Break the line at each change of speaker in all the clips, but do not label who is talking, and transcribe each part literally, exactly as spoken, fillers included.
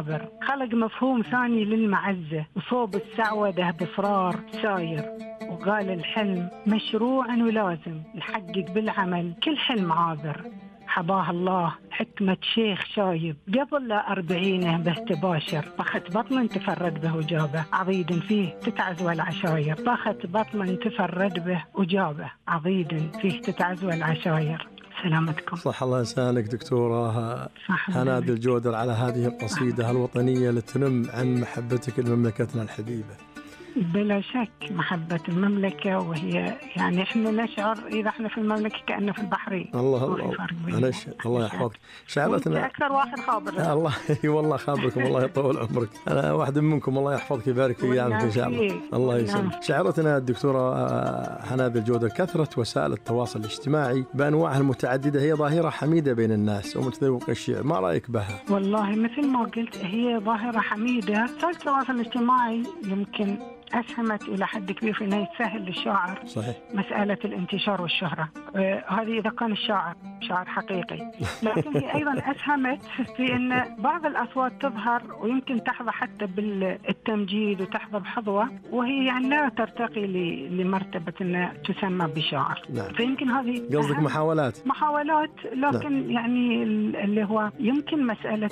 عابر، خلق مفهوم ثاني للمعزة، وصوب السعودة بإصرار ساير، وقال الحلم مشروع ولازم نحقق بالعمل كل حلم عابر. حباه الله حكمة شيخ شايب، قبل لا أربعينه به تباشر، طخت بطن تفرد به وجابه، عضيد فيه تتعزوى العشاير، طخت بطن تفرد به وجابه، عضيد فيه تتعزوى العشاير. سلامتكم.
صح الله يسعدك دكتورة هنادي الجودر على هذه القصيدة الوطنية لتنم عن محبتك لمملكتنا الحبيبة.
بلا شك محبة المملكة، وهي يعني إحنا نشعر إذا إحنا في المملكة كأنه في البحرين.
الله الله أنا الله يحفظك. شعرتنا
أكثر واحد خابر.
الله والله خابركم، الله يطول عمرك. أنا واحد منكم، الله يحفظك يبارك في أيامك إن شاء الله. الله يسلمك. شعرتنا الدكتورة هنادي الجودر، كثرة وسائل التواصل الاجتماعي بأنواعها المتعددة هي ظاهرة حميدة بين الناس ومتذوق الشعر، ما رأيك بها؟
والله مثل ما قلت هي ظاهرة حميدة. وسائل التواصل الاجتماعي يمكن أسهمت إلى حد كبير في أنه يسهل للشاعر
صحيح
مسألة الانتشار والشهرة. آه هذه إذا كان الشاعر شاعر حقيقي، لكن هي أيضا أسهمت في أن بعض الأصوات تظهر ويمكن تحظى حتى بالتمجيد وتحظى بحظوة، وهي يعني لا ترتقي لمرتبة أن تسمى بشاعر.
نعم.
فيمكن هذه
قصدك محاولات
محاولات لكن
نعم.
يعني اللي هو يمكن مسألة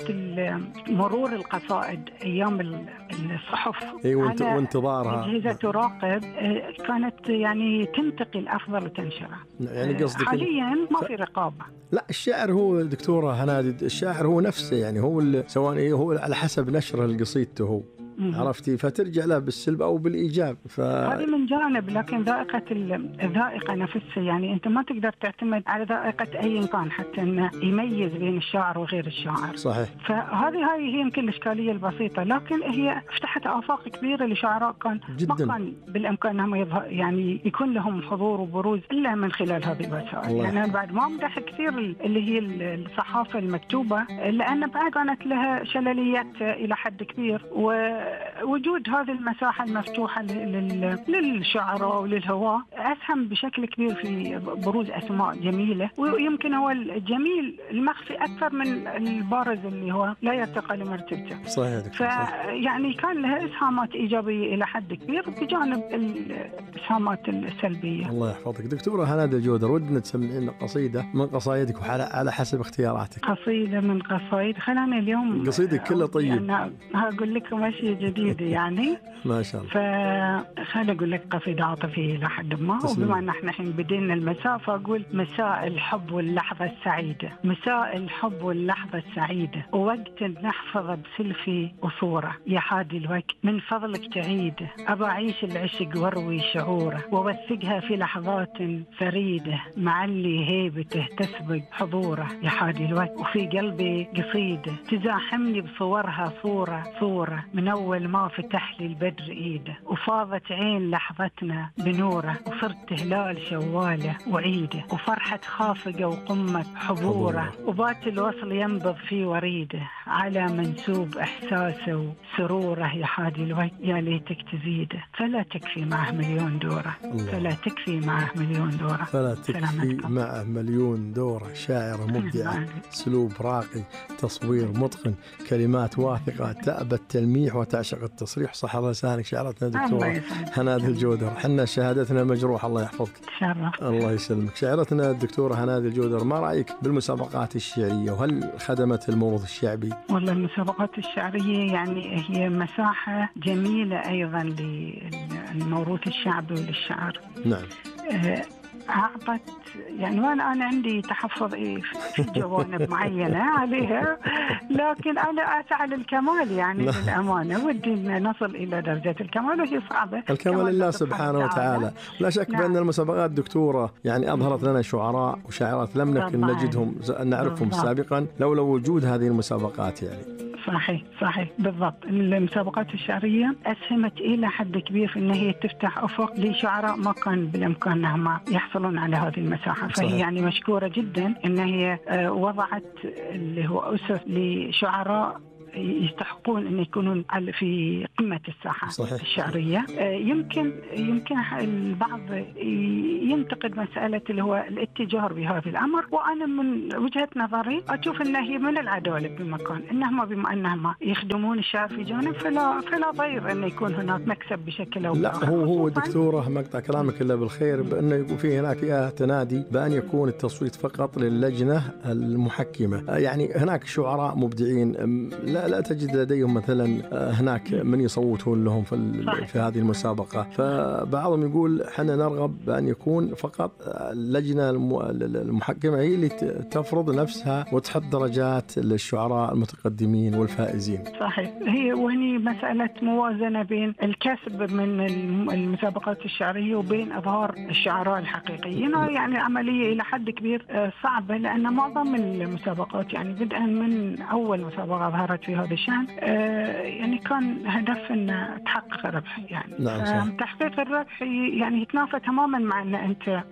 مرور القصائد أيام الصحف
أي وانتظارها
أجهزة تراقب كانت يعني تنتقي الأفضل وتنشره.
يعني قصدك
حاليا ما في رقابة.
لا الشاعر هو دكتورة هنادي، الشاعر هو نفسه، يعني هو سواء هو على حسب نشر القصيدة هو عرفتي، فترجع له بالسلب أو بالإيجاب. ف...
هذه من جانب، لكن ذائقة الذائقة نفسها يعني أنت ما تقدر تعتمد على ذائقة أي كان حتى أنه يميز بين الشاعر وغير الشاعر.
صحيح.
فهذه هاي هي يمكن الإشكالية البسيطة، لكن هي فتحت آفاق كبيرة لشعراء كان
جداً.
ما كان بالإمكان أنهم يظهر يعني يكون لهم حضور وبروز إلا من خلال هذه الوسائل. يعني أنا بعد ما أمدح كثير اللي هي الصحافة المكتوبة، لأن بعد كانت لها شلليات إلى حد كبير، ووجود هذه المساحة المفتوحة للشعراء وللهواء أسهم بشكل كبير في بروز أسماء جميلة، ويمكن هو الجميل المخفي أكثر من البارز اللي هو لا يرتقى لمرتبته.
صحيح.
فيعني كان لها إسهامات إيجابية إلى حد كبير بجانب الإسهامات السلبية.
الله يحفظك. دكتورة هنادي الجودر، ودنا تسمعين قصيدة من قصايدك وعلى حسب اختياراتك.
قصيدة من قصايد، خلاني اليوم
قصيدك كله طيب.
أنا هقول لكم أشياء جديدة يعني
ما شاء الله.
فخل أقول لك قصيدة عاطفية إلى حد ما، وبما أن احنا الحين بدينا المسافة أقول مساء الحب واللحظة السعيدة، مساء الحب واللحظة السعيدة، ووقت نحفظ بسلفي وصورة، يا حادي الوقت من فضلك تعيده، أبى أعيش العشق واروي شعوره، ووثقها في لحظات فريدة مع اللي هيبته تسبق حضوره، يا حادي الوقت وفي قلبي قصيدة تزاحمني بصورها صورة صورة، من أول ما فتح لي البدر إيده، وفاضت عين لحظتنا بنوره، وصرت هلال شواله وعيده، وفرحة خافقة وقمة حبوره، وبات الوصل ينبض في وريده، على منسوب إحساسه وسروره، يا حادي الوقت يا ليتك تزيده، فلا تكفي معه مليون دورة، فلا تكفي معه مليون دورة،
فلا تكفي معه مليون دورة. شاعرة مبدعة، اسلوب راقي، تصوير متقن، كلمات واثقة، تأبى التلميح وتعشق التصريح. صح الله لسانك شعرتنا دكتورة هنادي الجودر، حنا شهادتنا مجروح. الله يحفظك.
شرف.
الله يسلمك. شعرتنا الدكتورة هنادي الجودر، ما رأيك بالمسابقات الشعرية وهل خدمت الموروث الشعبي؟
والله المسابقات الشعرية يعني هي مساحة جميلة أيضا للموروث الشعبي وللشعر.
نعم.
أه أعطت يعني، وأنا أنا عندي تحفظ إيه في جوانب معينة عليها، لكن أنا أسعى للكمال يعني للأمانة، ودي أن نصل إلى درجة الكمال، وهي صعبة.
الكمال لله سبحانه وتعالى. لا شك نعم. بأن المسابقات دكتورة يعني أظهرت لنا شعراء وشاعرات لم نكن نجدهم نعرفهم سابقا لولا وجود هذه المسابقات يعني.
صحيح صحيح بالضبط. المسابقات الشعرية أسهمت إلى حد كبير في أن هي تفتح أفق لشعراء ما كان بالإمكان أنهم يحصلون على هذه المساحة. فهي صحيح. يعني مشكورة جدا أن هي وضعت اللي هو أسس لشعراء يستحقون أن يكونون في قمة الساحة صحيح. الشعرية. يمكن يمكن البعض ينتقد مسألة اللي هو الاتجار بهذا الأمر، وأنا من وجهة نظري أشوف أنه هي من العدالة بمكان أنهم بما أنهم يخدمون الشعر في جانب فلا فلا ضير أن يكون هناك مكسب بشكل أو
لا. هو هو دكتورة مقطع كلامك إلا بالخير، بأنه يكون فيه هناك تنادي بأن يكون التصويت فقط للجنة المحكمة. يعني هناك شعراء مبدعين لا لا تجد لديهم مثلا هناك من يصوتون لهم في, في هذه المسابقة، فبعضهم يقول حنا نرغب بأن يكون فقط اللجنة المحكمة هي اللي تفرض نفسها وتحط درجات للشعراء المتقدمين والفائزين.
صحيح. هي وهني مسألة موازنة بين الكسب من المسابقات الشعرية وبين إظهار الشعراء الحقيقيين. يعني عملية إلى حد كبير صعبة، لأن معظم المسابقات يعني بدءا من أول مسابقة ظهرت في هذا الشأن يعني كان هدف أن تحقق ربح. يعني
نعم
تحقيق الربح يعني يتنافى تماما مع أن أنت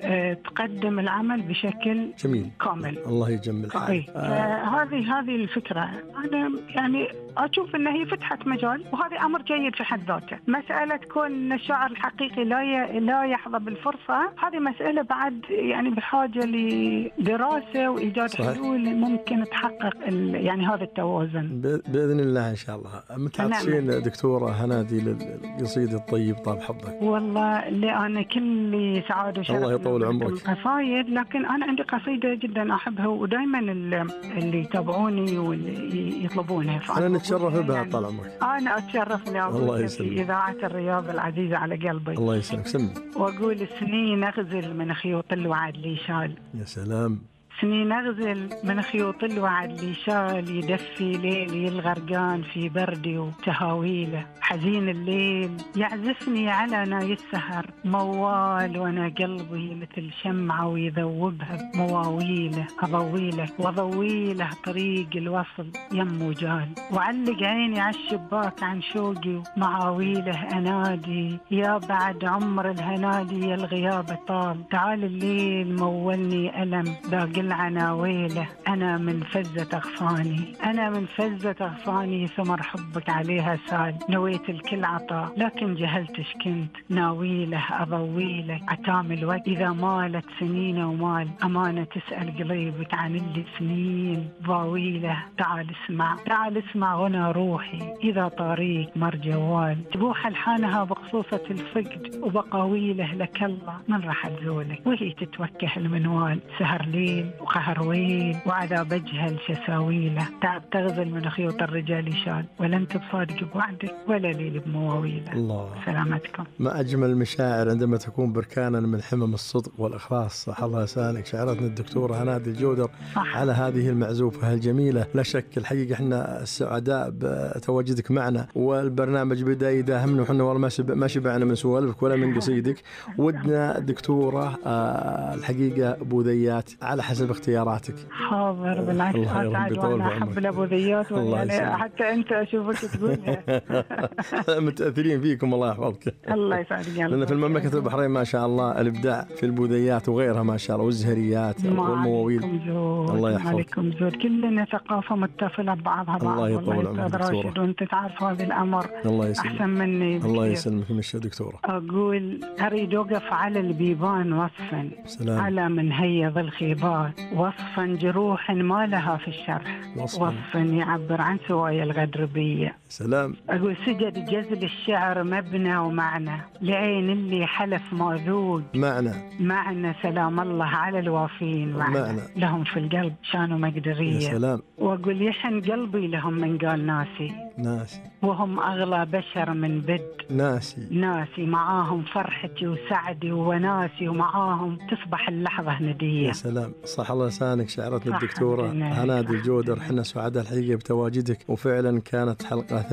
تقدم العمل بشكل
جميل
كامل.
الله يجمل حالك.
آه. هذه هذه الفكرة أنا يعني أشوف أن هي فتحت مجال، وهذا أمر جيد في حد ذاته. مسألة كون الشاعر الحقيقي لا لا يحظى بالفرصة، هذه مسألة بعد يعني بحاجة لدراسة وإيجاد حلول ممكن تحقق يعني هذا التوازن
بإذن الله إن شاء الله. متعطشين دكتورة هنادي للقصيدة الطيب طال حظك؟
والله اللي أنا كل سعادة وشرف
الله يطول عمرك.
القصايد، لكن أنا عندي قصيدة جدا أحبها ودائما اللي يتابعوني واللي يطلبونها
أنا نتشرف بها يعني طال عمرك.
أنا أتشرف لي في إذاعة الرياض العزيزة على قلبي.
الله يسلمك. سمي.
وأقول سنين أغزل من خيوط الوعد لي شال.
يا سلام.
سنين أغزل من خيوط الوعد لي شال، يدفي ليلي الغرقان في بردي وتهاويله، حزين الليل يعزفني على ناي السهر موال، وانا قلبي مثل شمعة ويذوبها بمواويله، أضويله وضويله طريق الوصل يم وجال، وعلق عيني على الشباك عن شوقي ومعاويله، أنادي يا بعد عمر الهنادي يا الغياب طال، تعال الليل مولني ألم باقي العناويله، أنا من فزة أغصاني أنا من فزة أغصاني ثمر حبك عليها سال، نويت الكل عطا لكن جهلتش كنت ناويله أضويله، عتام الوقت إذا مالت سنين ومال، أمانة تسأل قليبك عن اللي سنين ضاويله، تعال اسمع تعال اسمع غنى روحي إذا طريق مر جوال، تبوح الحانها بخصوصة الفقد وبقاويله، لك الله من راح تزولك وهي تتوكه المنوال، سهر ليل وقهر ويل وعذاب اجهل شساويله، تعب تغزل من خيوط الرجال شال، ولن تصادق بوعدك ولا ليل بمواويله.
الله
سلامتكم.
ما أجمل المشاعر عندما تكون بركانا من حمم الصدق والإخلاص. صح الله لسانك شاعرتنا الدكتورة هنادي الجودر صح. على هذه المعزوفة الجميلة. لا شك الحقيقة احنا السعداء بتواجدك معنا، والبرنامج بدأ يداهمنا وحنا والله ما شبعنا من سوالفك ولا من قصيدك. ودنا دكتورة آه الحقيقة بوذيات على حسب اختياراتك.
حاضر بالعكس، أسعد وأنا أحب الأبوذيات يعني حتى أنت أشوفك تقولها.
متأثرين فيكم الله يحفظك.
الله يسعدك.
لأن في المملكة البحرين ما شاء الله الإبداع في البوذيات وغيرها ما شاء الله، والزهريات والمواويل.
الله يحفظك. عليكم زود، كلنا ثقافة متصلة ببعضها بعض.
الله يطول عمرك دكتورة.
وأنت تعرف هذا الأمر
الله
أحسن مني.
الله يسلمك من الشيء دكتورة.
أقول أريد أوقف على البيبان وصفا
سلام.
على من هيض الخيبات وصفا جروح ما لها في الشرح،
وصفا,
وصفا يعبر عن سوايا الغدربية.
سلام.
أقول سجد جزل الشعر مبنى ومعنى لعين اللي حلف ما ذوق
معنى
معنى سلام الله على الوافين معنى, معنى. لهم في القلب شانوا مقدرية.
يا سلام.
وأقول يحن قلبي لهم من قال ناسي
ناسي
وهم أغلى بشر من بد
ناسي
ناسي معاهم فرحتي وسعدي وناسي ومعاهم تصبح اللحظة هندية.
يا سلام. صح الله لسانك شاعرتنا الدكتورة هنادي الجودر. احنا سعداء الحقيقة بتواجدك، وفعلا كانت حلقة